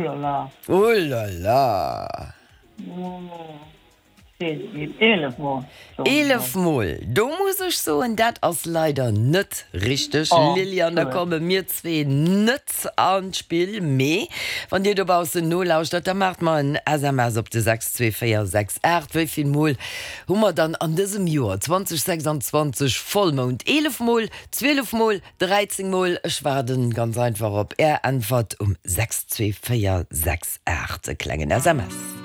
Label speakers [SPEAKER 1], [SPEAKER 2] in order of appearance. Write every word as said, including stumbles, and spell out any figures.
[SPEAKER 1] là là.
[SPEAKER 2] Oh là là.
[SPEAKER 1] Eelef Mol.
[SPEAKER 2] Eelef Mol, do muss ech soen, dat ass leider net richteg, Lilian. Da komme mir zwee net an d'Spill. Mee wann Dir dobaussen nolauschtert, da maacht mer en S M S op de sechs zwee véier sechs aacht. Wéi vill Mol hu mer dann an dësem Joer zweitausendsechsundzwanzeg Vollmound? Eelef Mol, zwielef Mol, dräizéng Mol? Ech waarden ganz einfach op Är Äntwert um sechs zwee véier sechs aacht, e klengen S M S.